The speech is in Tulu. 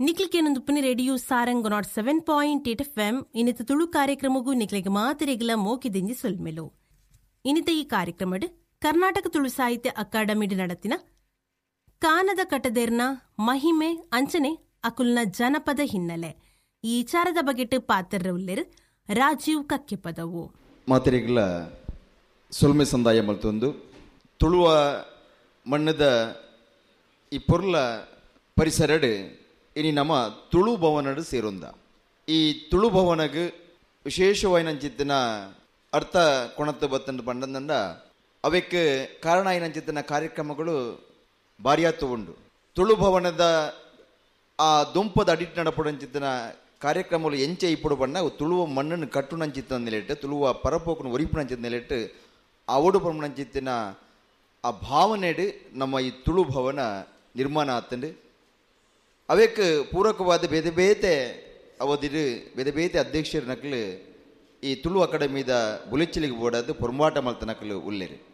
ನಿಕ್ಲಿಕೇನೊಂದು radio Sarang 107.8 FM ಇನ್ನಿತ ತುಳು ಕಾರ್ಯಕ್ರಮಗೂ ನಿಕ್ಲೆಗ್ ಮಾತೆರೆಗ್ಲ ಮೋಕಿದಿಂಜಿ ಸೊಲ್ಮೆಲು. ಇನ್ನಿತ ಈ ಕಾರ್ಯಕ್ರಮಡ್ ಕರ್ನಾಟಕ ತುಳು ಸಾಹಿತ್ಯ ಅಕಾಡೆಮಿಡ್ ನಡತಿನ ಕಾನದ ಕಟದೆರ್ನ ಮಹಿಮೆ ಅಂಚನೆ ಅಕುಲ್ನ ಜನಪದ ಹಿನ್ನೆಲೆ ಈ ವಿಚಾರದ ಬಗೆಟ್ ಪಾತ್ರ ಉಲ್ಲೆರ್ ರಾಜೀವ್ ಕಕ್ಕೆಪದವು. ಮಾತೆರೆಗ್ಲ ಸೊಲ್ಮೆ ಸಂದಾಯ ಮಲ್ತೊಂದು ತುಳುವ ಮಣ್ಣದ ಈ ಪೊರ್ಲ ಪರಿಸರಡ್ ಇನಿ ನಮ್ಮ ತುಳು ಭವನಡ್ ಸೇರೊಂದ. ಈ ತುಳು ಭವನಗ್ ವಿಶೇಷವಾಯಿನಂಚಿತ್ತಿನ ಅರ್ಥ ಕೊಣತ್ತು ಬತ್ತಂದು ಪಂಡಂದಂಡ ಅವೆಕ್ ಕಾರಣ ಆಯಿನಂಚಿತ್ತಿನ ಕಾರ್ಯಕ್ರಮಗಳು ಭಾರಿಯಾತು ಉಂಡು. ತುಳು ಭವನದ ಆ ದುಂಪದ ಅಡಿಟ್ ನಡಪುಡಂಚಿತ್ತಿನ ಕಾರ್ಯಕ್ರಮಗಳು ಎಂಚೆ ಇಪ್ಪಡು ಬಣ್ಣ ತುಳುವ ಮಣ್ಣನ್ನು ಕಟ್ಟುನಂಚಿತ್ತಿನ ನೆಲೆಟ್ಟು ತುಳುವ ಪರಪೋಕನು ಒರಿಪುನಂಚಿತ್ತ ನೆಲೆಟ್ಟು ಅವಡು ಪಂಚಿತ್ತಿನ ಆ ಭಾವನೆಡು ನಮ್ಮ ಈ ತುಳು ಭವನ ನಿರ್ಮಾಣ ಆತಂಡು. ಅವೆಕ್ ಪೂರಕವಾದ ಬೇತೆ ಬೇತೆ ಅವಧಿಡು ಬೇತೆ ಬೇತೆ ಅಧ್ಯಕ್ಷರ ನಕಲು ಈ ತುಳು ಅಕಾಡೆಮಿದ ಬುಲೆಚ್ಚಿಲಿಗೆ ಬೋಡಾದ ಪೊರ್ಂಬಾಟ ಮಲ್ತ ನಕಲು ಉಲ್ಲೇರು.